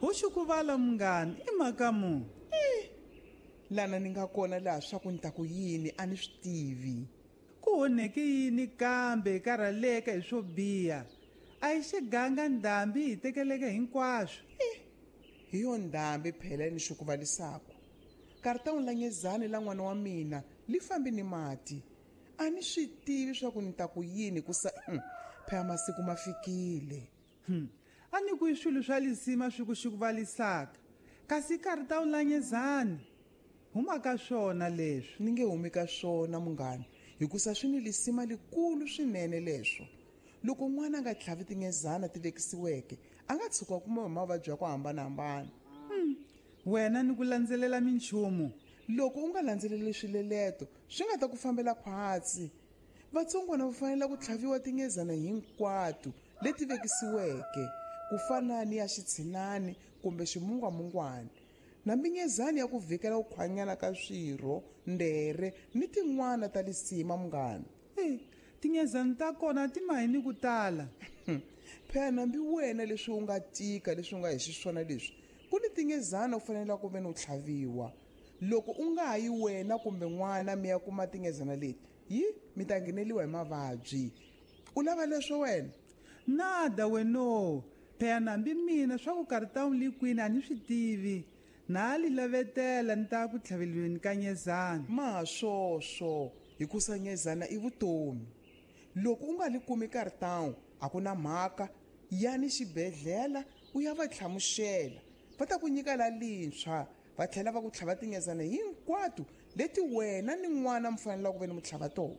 Ho xikuvala munghani i mhaka mu. Lana ni nga kona laha swa ku ni ta ku yini a ni swi tivi. Ku onheke yini kambe karhaleka hi swo biha? A hi xiganga ndhambi hi tekeleke hinkwaswo. Hi yo ndhambi phela ni xikuvalisaku. Karitawu la nyezani la n'wana wa mina li fambi ni mati. A ni swi tivi swa ku ni ta ku yini ku sa phela masiku ma fikile. A ni ku i swilo swa lisima swi ku xikuvalisaka. Kasi karitawu la nyezani huma ka swona leswi. Ni nge humi ka swona munghana, hikusa swi ni lisima likulu swinene leswo. Loko n'wana a nga tlhavi tinyezana ti vekisiweke, a nga tshuka kuma hi mavabyi ya ku hambanahambana. Wena ni ku landzelela minchumu. Loko u nga landzeleli swileleto, swi nga ta ku fambela khwatsi. Vatsongwana va fanele ku tlhaviwa tinyezana hinkwato leti vekisiweke, ku fana ni ya xitshinani kumbe ximungwamungwani. Na minyezani ya ku vhikela ku khwanyana ka swirho, ndere ni tin'wana ta lisima munghana. Tinyezani ta kona ti mahi ni ku tala. Phela nambi wena leswi u nga tika leswi u nga hi xiswona leswi, ku ni tinyezana u fanele ku ve ni u tlhaviwa. Loko u nga yi wena kumbe n'wana mi ya kuma tinyezana leti, yi mi ta ngheneliwa hi mavabyi. U lava leswo wena? Nada weno. Phela nambi mina swa ku karitawu li kwini a ni swi tivi. Na li lavetela ni ta ku tlhavelweni ka nyezana. Ma swoswo, hikusa nyezana i vutomi. Loko u nga li kumi karitawu, a ku na mhaka, yani xibedhlele u ya va tlhamuxela. Va ta ku nyika la lintshwa, va tlhela va ku tlhava tinyezana hinkwato leti wena ni n'wana mi fanelaka ku ve ni mi tlhava tona.